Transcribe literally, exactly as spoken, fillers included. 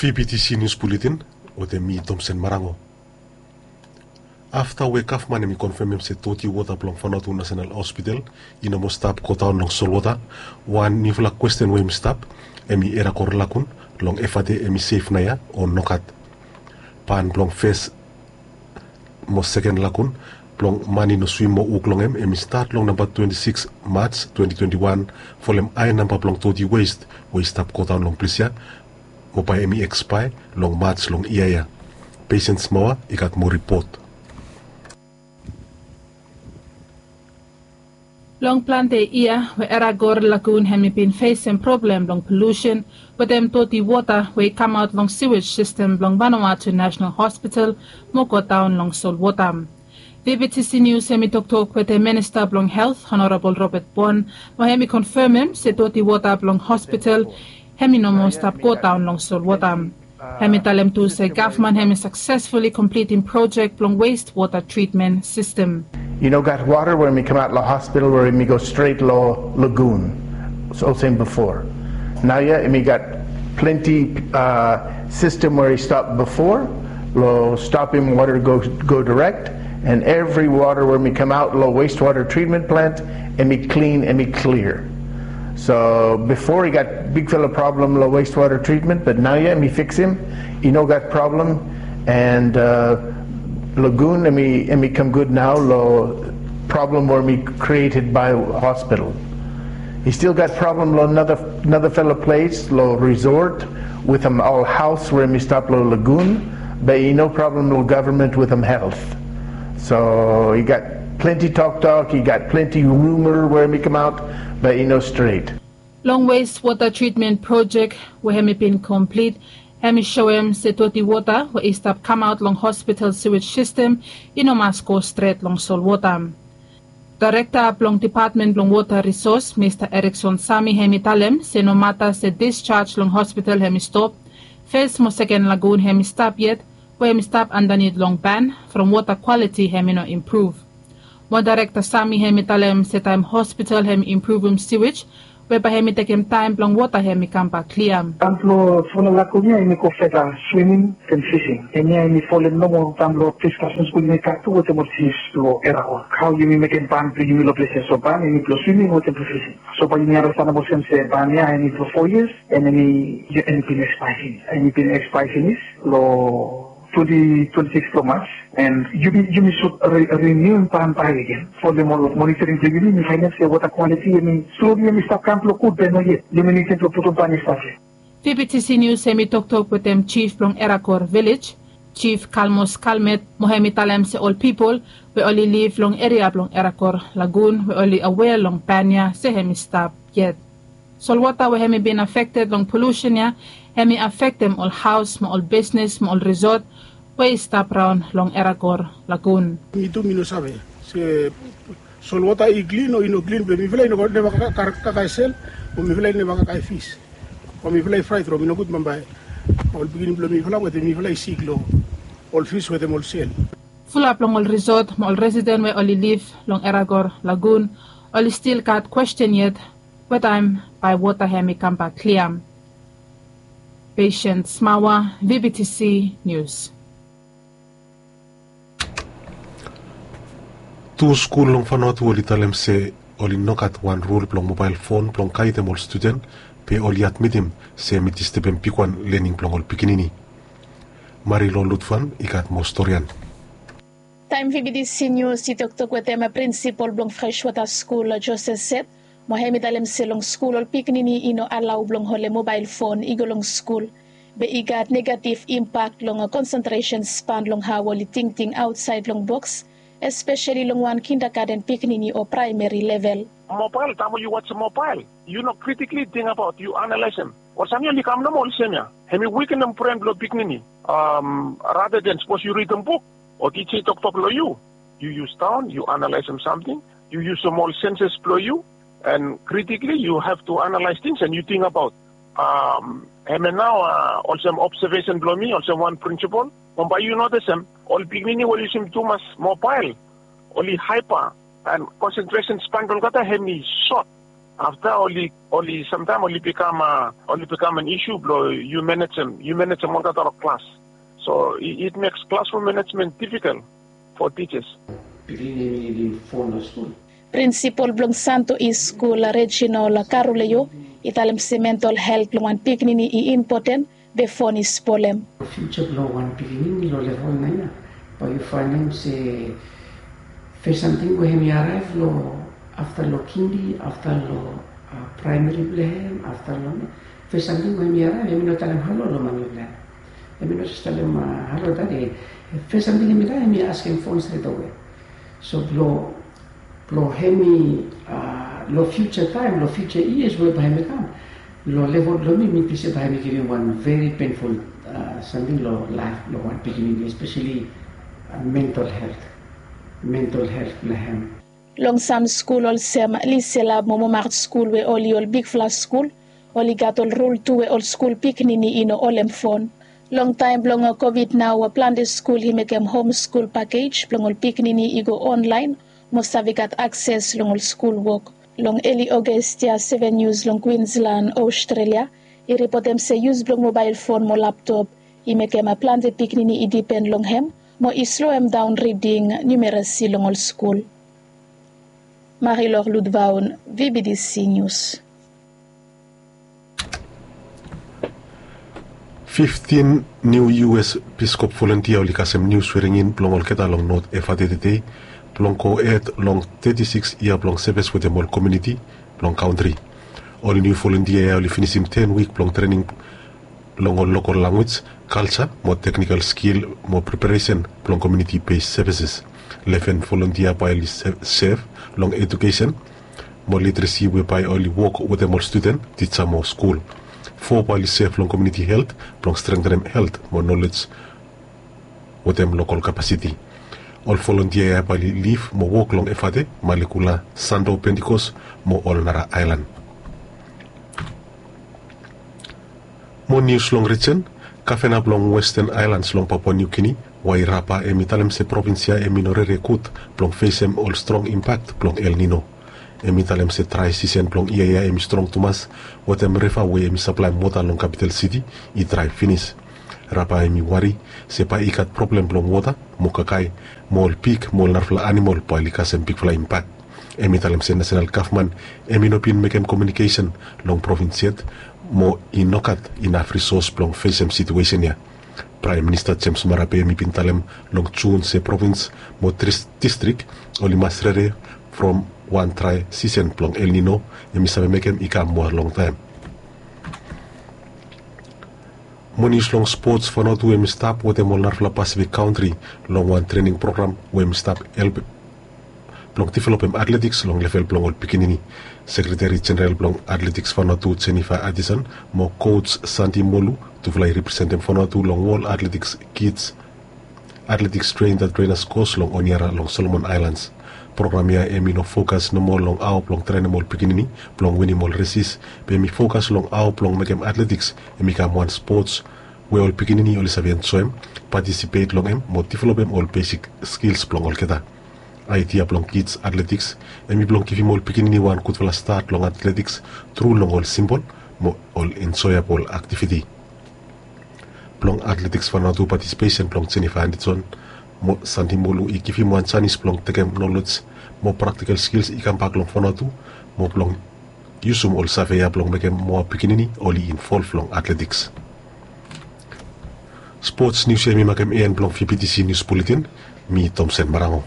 V B T C News Bulletin wetem mi, Tomsen Marango. Afta we gavman hemi konfemem se doti wota blong Vanuatu National Hospital i no moa stap godaon long solwota, wan niufala kwesten we hemi stap hemi Eragor Lagun, long Efate hemi sef naoia o nogat. Ban blong fes mo seken lagun blong man i no swim mo wok long hem, hemi stat long namba twenti sikis Maj twenti twenti wan, folem hae namba blong doti west we i stap godaon long ples ya, mo bae hemi ekspaea long Maj long yia ya. Patience Mawa i gat moa ripot. Long plante yia we Eragor Lagun hemi bin fesem problem blong polusen wetem doti wota we i kamaot long siwej sistem blong Vanuatu National Hospital mo godaon long solwota. V B T C News hemi toktok wetem Minista blong Helt, Honorabol Robert Bon, mo hemi konfemem se doti wota blong hospital hemi no moa stap godaon long solwota. Hemi talem tu se gavman hemi saksesfuli komplitim projek blong west wota tritmen sistem. I no gat wota we hemi kamaot long hospital we hemi go stret long lagun. So olsem bifo. Naoia hemi gat plante, uh, sistem we i stap bifo, long stopem wota go, go direct, and evri wota we hemi kamaot long westwota tritmen plant hemi klin, hemi klia. So bifo i gat bigfala problem long westwota tritmen, bat naoia hemi fiksem, i no gat problem, and, uh, lagun hemi, hemi kam gud nao long problem we hemi krieted bae hospital. I stil gat problem long nara, narafala ples long resort wetem ol haos we hemi stap long lagun, bat i no problem long gavman wetem Helt. So i gat plante toktok, i gat plante ruma we hemi kamaot, bat i no stret. Long westwota tritmen projek we hemi bin komplit, hemi soem se doti wota we i stap kamaot long hospital siwej sistem i no mas go stret long solwota. Daerekta blong Depatmen blong Wota Risos, Mista Erikson Sami, hemi talem se nomata se disjaj long hospital hemi stop, fes mo seken lagun hemi stap yet, we hemi stap andanit long ban from wota kwaliti hemi no impruv. Mo Daerekta Sami hemi talem se taem hospital hemi impruvum siwej, we bae hemi tekem taem blong wota hemi kambak klia. Taem blong fola lagun ya hemi go feta swiming and fishing. Hemia hemi folem nomo taem blong diskasen skul hemi gat tu wetem ol jif blong Eragor. Hao yumi mekem ban blong yumi long ples ya, so ban hemi blong swiming wetem blong fishing. So bae yumi andastanem olsem se ban ya hemi blong fo yias, and hemi, hemi bin ekspaea finis. Hemi bin ekspaea finis long twenti twenti sikis blong Maj, and yumi, yumi sud re-, rinium ban bae agen. Folem ol monitoring blong yumi, yumi faenem se wota kwaliti hemi sloli hemi stap kam blong gud, be noyet. Yumi nidim blong putum ban i stap ya. V B T C News hemi toktok wetem jif blong Eragor Vilej, Jif Kalmos Kalmet, mo hemi talem se ol pipol we oli liv long eria blong Eragor Lagun we oli awea long ban ya se hemi stap yet. Solwota we hemi bin afekted long polusen ya hemi afektem ol haos mo ol bisnes mo ol risot we i stap raon long Eragor Lagun. Mi tu mi no save se solwota i klin o i no klin, be mifala i no neva kakae sel, o mifala i neva kakae fis, o mifala i fraet from i no gud bambae ol pikinini blong mifala wetem mifala i sik long ol fis wetem ol sel. Fulap long ol risot mo ol residen we oli liv long Eragor Lagun oli stil gat kwesten yet, we taem bae wota hemi kambak klia. Patience Mawa, V B T C News. Tu skul long Vanuatu oli talem se oli no gat wan rul blong mobael fon blong gaedem ol studen, be oli admitim se hemi distebem bigwan lening blong ol pikinini. Marilou Lutfan i gat moa storian. Taem V B T C News i toktok wetem prinsipol blong Freshwater Skul, Joseph Seth, mo hemi talem se long skul ol pikinini i no alao blong holem mobael fon i go long skul, be i gat negativ impak long konsentresen span long hao oli tingting aotsaed long boks, espeseli long wan kindagaden pikinini o praemeri level. Mobael, taem we yu wajem mobael, yu no kritikli tingbaot, yu analaesem. Ol samting oli kam nomo olsem ya. Hemi wikenem bren blong pikinini. Am, rata den sapos yu ridim buk o tija i toktok long yu, yu yus daon, yu analaesem samting, yu yusum ol senses blong yu, and kritikli yu have to analaes tings and yu tingbaot. Am, hemia nao, a, olsem obsevesen blong mi, olsem wan prinsipol, bambae yu notisem ol pikinini we oli yusum tumas mobael, oli haepa, and konsentresen span blong olgeta hemi sot. Afta oli oli samtaem oli bikam a oli bikam an isu blong yu manejem yu manejem olgeta long klas. So it makes classroom management difficult for teachers. Pikinini em i nidim fon long skul. Prinsipol blong Santo East Skul, Reginald Karuleyo, i talem se mental helt blong wan pikinini i impoten be fon i spolem. Fiuja blong wan pikinini long level nain ya, bae yu faenem se fes samting we hem i araev long afta long kindi, afta long praemeri blong hem, afta long fes samting we hem i araev, hem i no talem halo long mami blong hem. Hem i no jes talem halo dadi. Fes samting hem i dai hem i askem fon stretawe. So blong blong hem i long fiuja taem, long fiuja yias we bae hem i kam, long level blong mi mi ting se bae hem i givim wan veri penful samting long laef blong wan pikinini, espeseli mental helt, mental helt blong hem. Long sam skul olsem Liselab mo Momart skul we oli ol bigfala skul, oli gat ol rul tu we ol skul pikinini i no holem fon. Long taem blong Covid nao, plante skul i mekem hom skul pakej blong ol pikinini i go onlaen mo save gat akses long ol skul wok. Long eli Ogos ya, Seven Nius long Kwinslan, Ostrelia, i ripotem se yus blong mobael fon mo laptop i mekem plante pikinini i dipen long hem mo i sloem daon riding niumerasi long ol skul. Marilor Ludvaun, VBDC Nius. Fiftin niu U S Piskop volontia oli kasem niu sweringin blong olgeta long Not Efate tede blong go hed long teti sikis yia blong seves wetem ol komuniti blong kantri. Ol niu volontia ya oli finisim ten wik blong trening long ol lokol langwis, kalja mo teknikal skil mo preparesen blong komuniti bes sevises. Leven volontia bae oli sev long ejukesen mo literesi we bae oli wok wetem ol studen, tija mo skul. Fo bae oli sev long komuniti helt blong strengtenem helt mo nolej wetem lokol kapasiti. Ol volontia ya bae oli lif mo wok long Efate, Malekula, Santo, Pentikos mo ol nara aelan. Mo nius long rijen, gavena blong Westen Aelans long Papua Niu Gini, Wairapa, hem i talem se provins ya hem i no rere gud blong fesem ol strong impak blong El Nino. Hem i talem se drae sisen blong yia ya hem i strong tumas, wetem riva we hem i saplaem wota long kapital siti i drae finis. Rapa hem i wari se bae i gat problem blong wota mo kakae mo ol pig mo ol narafala anamol bae oli kasem bigfala impak. Hem i talem se nasenal gavman hem i no bin mekem komiunikesen long provins yet mo i no gat inaf risos blong fesem situesen ya. Praem Minista Jems Marape hem i bin talem long Jun se provins mo distrik oli mas rere from wan drae sisen blong El Nino hem i save mekem i kam moa longtaem. Mo nius long spots, Vanuatu hem i stap wetem ol narafala Pasifik kantri long wan trening program we hem i stap help blong developem atletiks long level blong ol pikinini. Sekreteri Jeneral blong Atletiks Vanuatu, Jennifer Addison, mo koj Santi Molu, tufala i representem Vanuatu long Wol Atletiks Kij Atletiks Tren dat Trenas Kos long Honiara long Solomon Aelans. Program ya hem i no fokas nomo long hao blong trenem ol pikinini blong winim ol resis, be hem i fokas long hao blong mekem atletiks hem i kam wan spots we ol pikinini oli save enjoem, patisipet long hem mo developem ol besik skils blong olgeta. Aedia blong Kij Atletiks hem i blong givim ol pikinini wan gudfala stat long atletiks tru long ol simpol mo ol enjoeabol aktiviti. Blong Atletiks Vanuatu, patisipesen blong Jennifer Addison mo Santi Molu i givim wan janis blong tekem nolej mo praktikal skils i kambak long Vanuatu mo blong yusum ol save ya blong mekem moa pikinini oli involv long atletiks. Spots nius ya hem i makem en blong VBTC Nius Buletin. Mi Tomsen Marango.